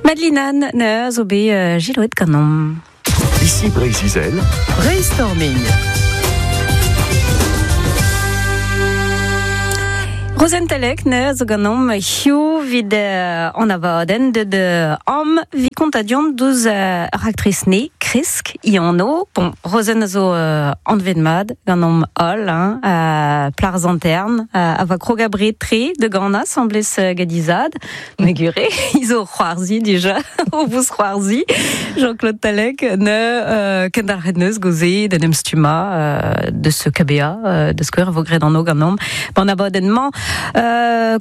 Madeline Anne zo bet jiloet ganeomp. Ici Breizh-Izel. Brainstorming. Rozenn Talec ne zo ganeomp hiziv 'vit an abadenn deut am 'vit kontañ deus ur raktres ne kresk i anv. Bon, Rozenn a zo anvet mat ganeomp holl, hein, plac'h Sant-Hern, a va krog abred-tre da ganañ asambles gant he zad. Megure, izo c'hoarzi dija, o vous c'hoarzi. Jean-Claude Talec ne kendalc'het neus goze d'en em stummañ deus KBA, da skouer a vo graet anv ganeomp. Ban abadenn-mañ,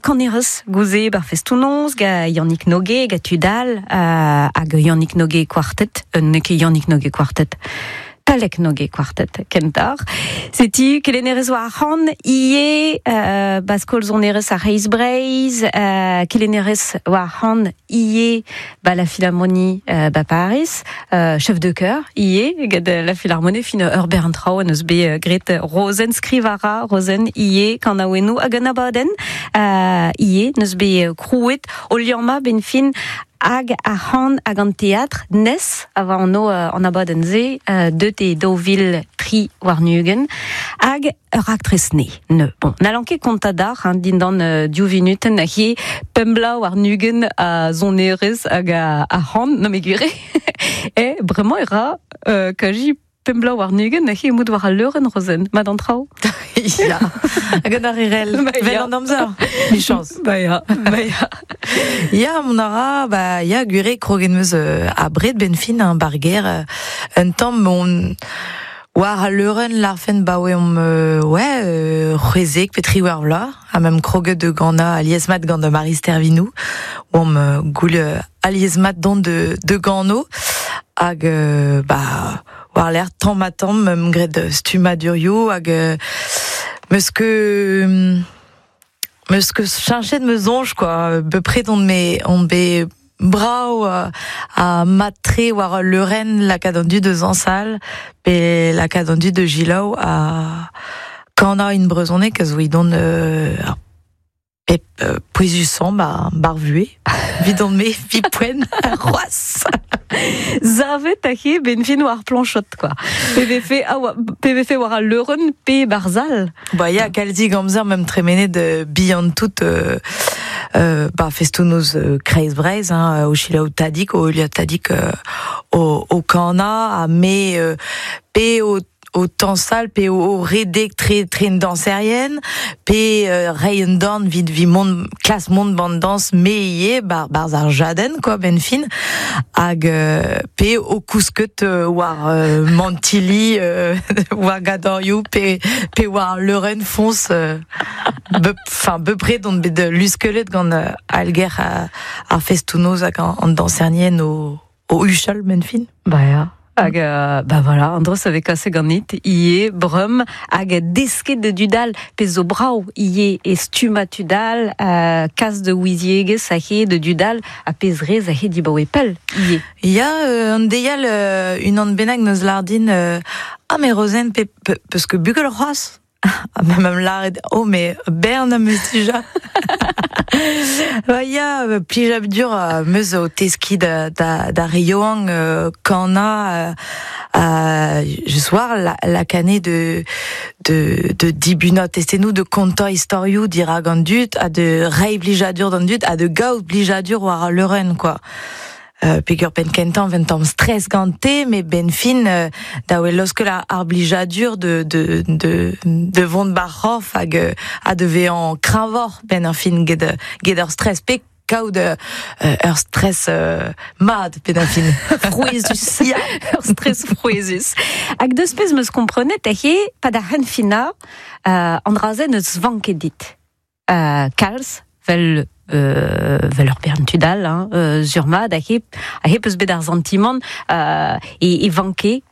kanerez gouze bar festoù-noz ga Yannick Noguet, ga tud all, hag Yannick Noguet Quartet, n'eo ket Yannick Noguet Quartet, Talec Noguet Quartet kentoc'h. Setu kelennerez war ar c'han ivez, ba skol sonerezh ar C'hreiz Breizh, kelennerez war ar c'han ivez ba la Philharmonie ba Paris, chef de chœur ivez get la Philharmonie fin ur bern traoù en eus bet graet Rozenn skriv a ra Rozenn ivez kanaouennoù hag un abadenn ivez n'eus bet krouet o liammañ benn fin hag ar c'han hag an teatr nes a oa anv an abadenn-se deut e 2023 hag ur raktres ne ne bon n'hallan ket kontañ deoc'h hein, dindan div vinutenn he pemp bloaz warn-ugent a sonerezh hag a c'han non mais gwir eo bremañ e ra kazi pemp bloaz warn-ugent he emout war al leurenn Rozenn mat an traoù Ya, hag an arerel, vel an amzer, michañs. Ba ya, ba ya. Ya, mont a ra, ba ya, gwir eo kroget 'm eus abred benn fin, hein, ba'r gêr, un tamm on war al leurenn larfen 'baoe omp ouais, c'hwezek pe triwec'h vloaz, ha meump kroget da ganañ alies-mat gant Marie Stervinou, oamp goul alies-mat dont de gano, hag bah war-lerc'h tamm-ha-tamm 'meump graet stummadurioù hag 'meus ket 'meus ket cheñchet ma soñj quoi bepred on me on bet brav ha mat-tre war al leurenn lakaat an dud da zañsal pe lakaat an dud da selaou ha kanañ en brezhoneg a zo edon ar pep pouezusañ 'ba 'r vuhez 'vidon-me 'vit poent c'hoazh. Savet aze 'benn fin war plañchod quoi. Pe vefe pe vefe war al leurenn pe 'barzh sal. Ba ya kalzik amzer meump tremenet bihan tout 'ba festoù-noz Kreiz Breizh hein, o selaou Tadig, o heuliañ Tadig o kanañ ha me pe o o tañsal pe o redek tre tre an dañserien pe reiñ un dorn 'vit 'vit mont klask mont 'ban dañs me ivez 'barzh ar jadenn quoi 'benn fin hag pe o kousket war mantilli war gadorioù pe pe war leurenn foñs enfin bepred on bet luskellet gant alger ar festoù-noz hag an dañserien o o huchal 'benn fin. Ba ya. Hag ba voilà, an dro a vez kaset ganit ivez breum hag desket da dud all pezh zo brav ivez e stummañ tud all, kas da ouiziegezh aze da dud all ha pezh rez aze dibaoe pell ivez. Ya, an deiz all unan bennak 'neus lâret din ah mais Rozenn pe peus ket bugel c'hoazh? Ha ma 'm lâret oh mais bern am eus dija. Ba ya, plijadur am eus o teskiñ da da d'ar re yaouank kanañ je soir lakaat de de de dibunañ testennoù, de kontañ istorioù dirak an dud ha de reiñ plijadur d'an dud ha de gaout plijadur war al leurenn quoi. Peger penn kentañ un tamm stress gante, met 'benn fin da wel laoskel ar blijadur de de de de vont 'bar c'horf hag ha de vezañ kreñvoc'h 'benn ar fin get get ur stress pe kaout ur stress mat 'benn ar fin. Frouezhus. Ya, ur stress frouezhus. Hag deus pezh 'm eus komprenet eo pa da c'henfinañ an dra-se n'eus vank ket dit. Kalz 'vel 'vel ur bern tud all hein, sur-mat aze aze 'peus bet ar santimant e vanke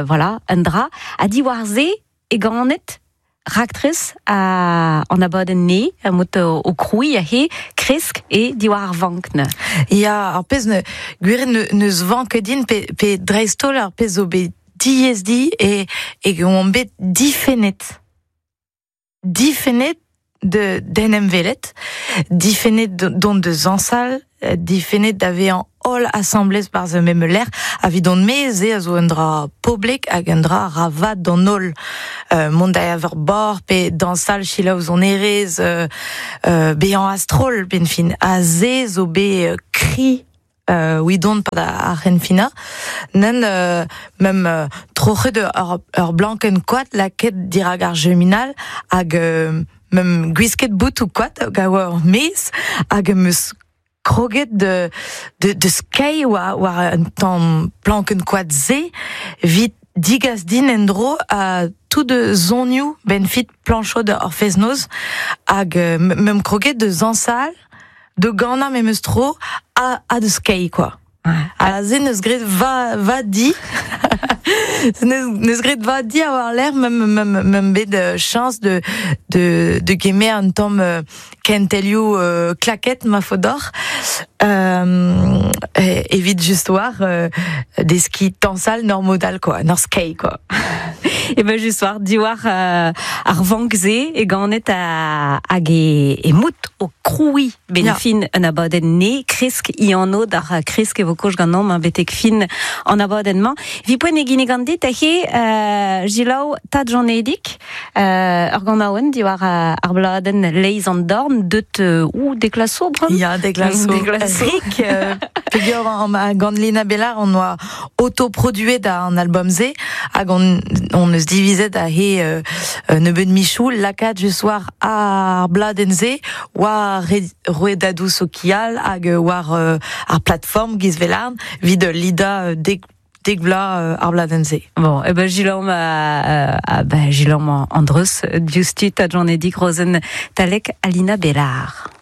voilà un dra ha diwar-se e ganet raktres an abadenn-ne mod o krouiñ aze kresk e diwar ar vank neuze. Ya, ar pezh ne gwir n'eus vank ket din pe, pe dreist-holl ar pezh zo bet diaes di e e oan bet difennet. Difennet d'en em welet, difennet dont da zañsal, difennet da vezañ holl asambles barzh ur mem lec'h, evit on me se a zo un dra poblek hag un dra ra vat d'an holl. Mont da evañ ur bar pe dañsal selaou sonerezh, bezañ a-stroll benn fin. Ha se zo bet kri widon pad ar c'henfinañ. Nen mem troc'het ur blankenn koad lakaet dirak ar cheminal hag mem gwisket boutoù koad hag a oa ur maez hag em eus kroget de skeiñ war un tamm plankenn koad-se evit digas din en-dro a tout zonioù benn fit plañchod ar fest-noz hag mem kroget de zañsal, de ganañ memes tro ha de skeiñ quoi. Ha se neus graet va di neus graet va di a war-lerc'h mem bet chañs de gemer un tamm kentelioù klaket ma faot deoc'h evit just war deskiñ tañsal nor modal quoi, nor skeiñ quoi. E ben just war diwar ar vank-se e ganet hag e mout o krouiñ ben fin un abadenn ne kresk i anv d'ar kresk e vo koch ganeomp betek fin an abadenn-mañ. Vi poent e ginnig an dit he jilaou Tad Janedig ur ganaouenn diwar ar bladenn Leiz an dorn deut ou deklaso bremañ? Ya, deklaso. Rik, peogwir gant Lina Bellard on oa autoproduet an album-se hag on eus divizet a he nebeud michoù lakaat just war ar bladenn-se war rouedadoù sokial hag war ar plateforme giz Velarn evit lidañ dek vloaz ar bladenn-se. Bon, e ben Gilom ben Gilom Andreus diouzhtu Tad Janedig Rozenn Talek Alina Bellard.